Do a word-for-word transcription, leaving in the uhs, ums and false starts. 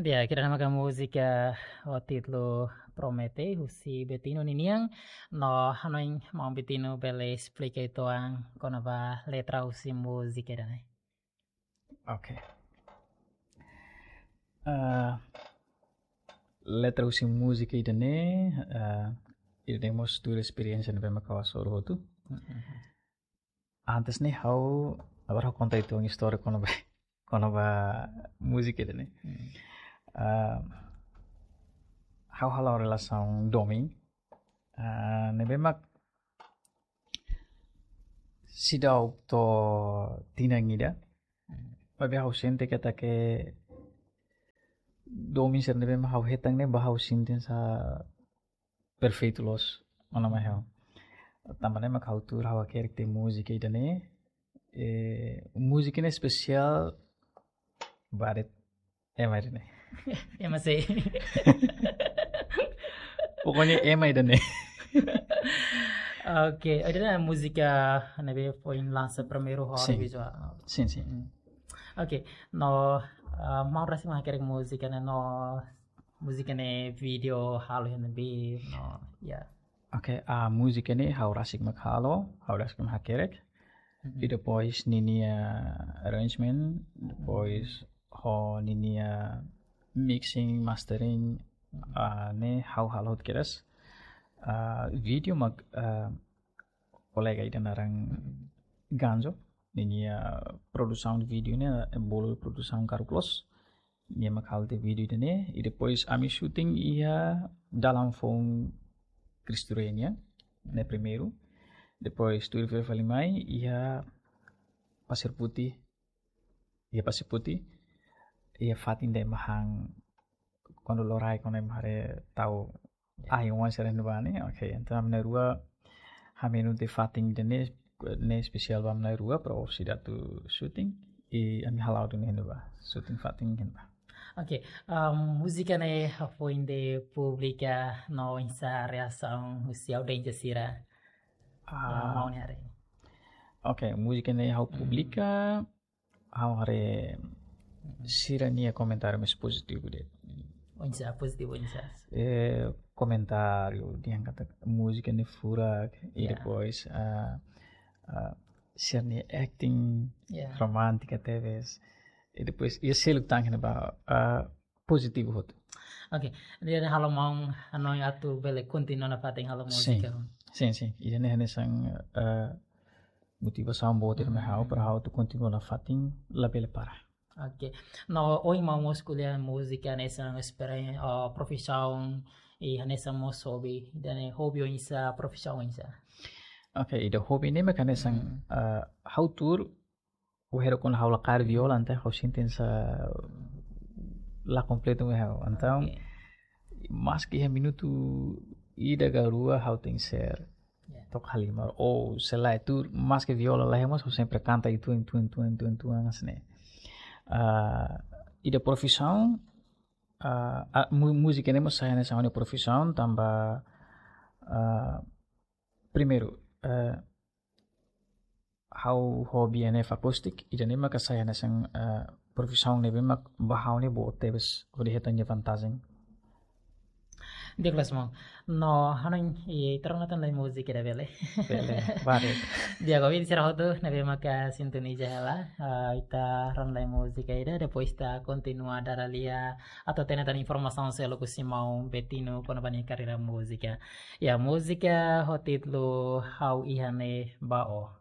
Di'ak, ida-ne'e maka múzika ho títulu Promete, husi Betino ninian. No, hanoin maun Betino bele esplika uitoan kona-ba letra husi múzika ida-ne'e. Oke. Eh, letra husi múzika ida-ne'e, eh, ida-ne'e mós tuir esperiénsia ne'ebé mak ha'u hasoru hotu. Mm-mm. Antes ne'e ha'u, agora ha'u konta uitoan istória kona-ba, kona-ba múzika ida-ne'e. Mm. Eh, ha'u hala'o relasaun domin. Eh, ne'ebé mak seidauk to'o tinan ida. Maibé ha'u sente katak domin sira ne'ebé mak ha'u hetan ne'e ba ha'u sente hanesan perfeitu loos, ona mai ha'u. Tanba ne'e mak ha'u tuur ha'u hakerek tiha múzika ida-ne'e. Eh, múzika ne'e espesiál ba de'it ema ida-ne'e. Ema sé? Pokoknya ema ida-ne'e. Oke, ida-ne'e múzika ne'ebé foin lansa primeiru ho Sin. Audiovisuál. Sin, sin. Mm. Oke, no, eh, maun rasik mak hakerek múzika ne'e no, múzika ne'e vídeo halo iha ne'ebé, no, ya. Oke, ah, múzika ne'e ha'u rasik mak halo, ha'u rasik mak hakerek. Mm-mm. I depois ninia arrangement, depois ho ninia mixing, mastering, ah, ne'e ha'u halo hotu kedas. Ah, vídeo mak, ah, kolega ida naran Ganjo, ninia produsaun vídeo ne'e, eh, bolu produsaun Karuklos. Nia mak halo tiha vídeo ida-ne'e, i depois ami shooting iha dalan foun Cristo Rei nian, ne'e primeiru. Depois tuir fila fali mai iha Pasir Putih, iha Pasir Putih, iha fatin ida ema han kuandu lorokraik, kuandu ema haree tau ahi-oan sira iha ne'ebá ne'e. Oke, entaun ami na'in-rua hamenus tiha fatin ida-ne'e, ne'e espesiál ba ami na'in-rua, para orsida atu shooting, i ami hala'o duni iha ne'ebá, shooting fatin iha ne'ebá. Oke, um, múzika ne'e hafoin ida públika no oinsá reasaun husi audiénsia sira? Ah, ah, maun haree. Oke, múzika ne'e ha'u, hmm, publika, ha'u haree sira-nia komentáriu mós pozitivu de'it. Oinsá, pozitivu oinsá? Eh, komentáriu dehan katak múzika ne'e furak, i, ya, depois, ah, ah, sira-nia acting, ya, romántika tebes. I depois, iha seluk tan ne'ebá, ah, pozitivu hotu. Oke, jadi halo maun hanoin atu bele kontinua nafatin halo, sin, múzika. Sin, sin. Ida-ne'e hanesan, eh, motivasaun boot ida mai ha'u, hmm, para ha'u atu kontinua nafatin, labele para. Oke. No, ohin maun mós ko'alia múzika hanesan esperen, eh, profisaun, i hanesan mós hobi. Ida-ne'e hobi oinsá, profisaun oinsá? Oke, ida hobi ne'e mak hanesan, hmm, eh, ha'u tuur, wainhira kuandu ha'u la kaer viola, entaun ha'u sente hanesan la kompletu mai ha'u. Entaun, oke, maski iha minutu ida ka rua ha'u tenke ser, ya, to'o halimar. Ou se lae tuur, maski viola la iha mós, ha'u sempre kanta uitoan, uitoan, uitoan, uitoan, uitoan, hanesan ne'e. Ah, ida profisaun, ah, ah, mu-, múzika ne'e mós sai hanesan ha'u-nia profisaun, tanba, ah, primeiru, eh, ha'u hobi N F akustik, ida-ne'e maka sai hanesan, eh, profisaun ne'ebé mak ba ha'u ne'e boot tebes hodi hetan nia vantajen. Di'ak loos maun. No, hanoin, i, ita rona tan lai múzika ida bele? Bele, bele. Di'ak, oke, sira hotu ne'ebé maka sintoniza hela, ah, ita rona lai múzika ida, depois ita kontinua dada lia atu hatene tan informasaun seluk husi maun Betino kona-ba nia karreira múzika. Ya, múzika ho títulu Ha'u Iha Ne'e Ba Ó.